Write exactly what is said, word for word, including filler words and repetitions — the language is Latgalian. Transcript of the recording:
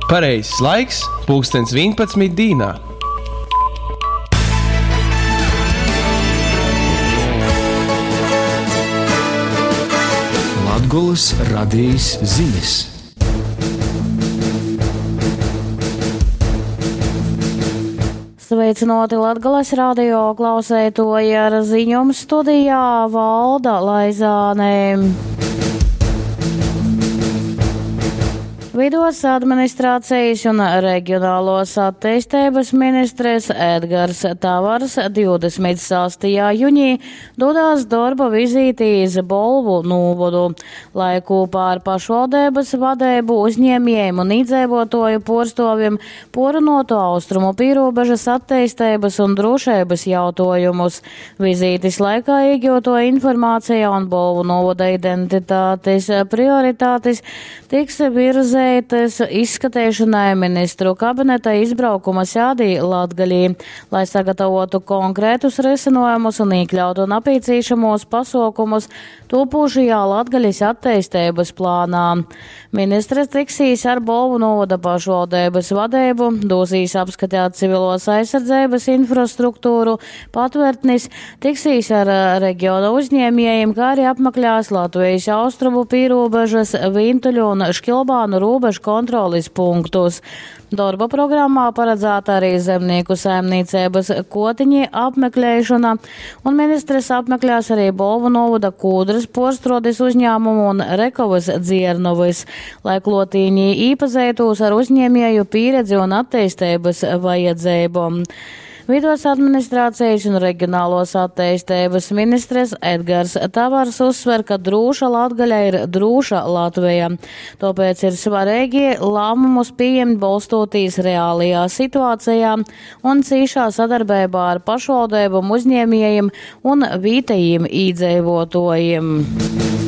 Pareizais laiks - pulkstens vienpadsmit dīnā. Latgolys radejis zinis. Sveicināti Latgales radio klausētoji ar ziņom studijā Valda Laizāne. Vidos administrācijas un reģionālos attīstības ministres Edgars Tavars divdesmit sastajā junī dodās darba vizītī iz Bolvu nūvodu, lai kopā ar pašvaldības vadību, uzņēmējiem un iedzīvotāju porstovim porunotu austrumu pīrobežas attīstības un drošības jautājumus. Vizītes laikā iegūto informācija un Bolvu novada identitātes prioritātes tiks virzētas izskatīšanai ministru kabineta izbraukuma sēdī Latgalī, lai sagatavotu konkrētus risinājumus un iekļautu napīcīšamos pasaukumus topošajā Latgaļas attīstības plānā. Ministres tiksīs ar Bolvu novada pašvaldības vadību, dosīs apskatīt civilos aizsardzības infrastruktūru, patvērtnis, tiksīs ar reģiona uzņēmējiem, kā arī apmeklēs Latvijas austrumu pīrobežas, Vintuļu un Škilbānu robežu kontrolis punktus. Darba programmā paredzēta arī zemnieku saimniecības kotiņi apmeklēšana, un ministres apmeklēs arī Bolvu novada Kūdras porstrodes uzņēmumu un Rekovas dziernovas, lai klotīņi īpazītos ar uzņēmēju pieredzi un attīstības vajadzībām. Vidos administrācijas un reģionālos attīstības ministres Edgars Tavars uzsver, ka drūša Latgaļa ir drūša Latvija. Tāpēc ir svarīgi lēmumus pieņemt bolstoties reālajā situācijā un cīšā sadarbībā ar pašvaldībām, uzņēmējiem un vietējiem iedzīvotājiem.